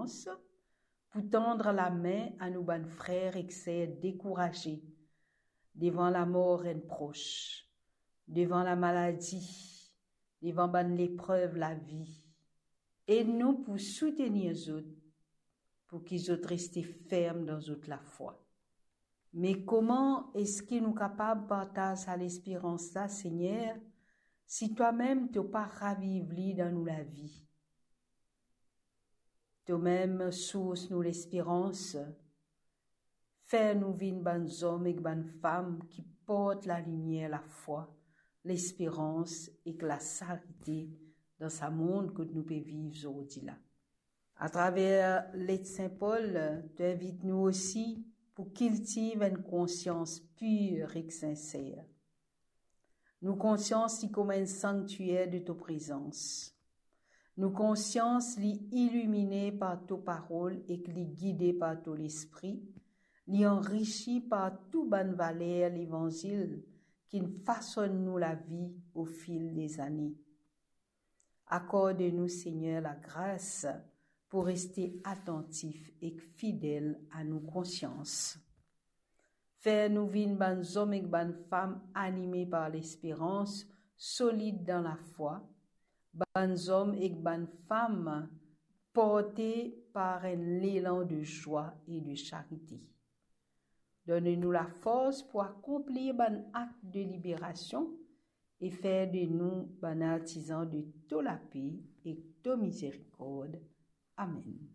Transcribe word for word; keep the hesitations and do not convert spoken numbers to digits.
konsians pou tann lame a nou bann frer ek ser dekouraze devan lamor enn pros, devan lamaladi, devan bann leprev lavi. Ed nou pou soutenir zot, pou ki zot reste ferm dan zot lafwa. Me kouma eski nou kapav partaz sa lesperans la, Segner, si twamem to pa raviv li dan nou lavi? Tomem sours nou lesperans, fer nou vinn bann zom ek bann fam ki port lalimier, lafwa, lesperans ek lasarite dan sa mond kot nou pe viv zordi la. Atraver let Sin Pol, to invit nou osi pou kiltiv enn konsians pir ek sinser. Nou konsians li kouma enn sanktier de to prezans. Nou konsians li ilimine par to parol ek li gide par to Lespri, li anrisi par tou bann valer Levanzil ki'nn fasonn nou lavi ofil dezane. Akorde nou, Segner, lagras pou reste atantif ek fidel a nou konsians. Fer nou vinn bann zom ek bann fam anime par lesperans, solid dan lafwa, bann zom ek bann fam porte par enn lelan de zwa e de sarite. Donn nou lafors pou akonplir bann akt de liberasion e fer de nou bann artizan de to lape ek to mizerikord. Amen.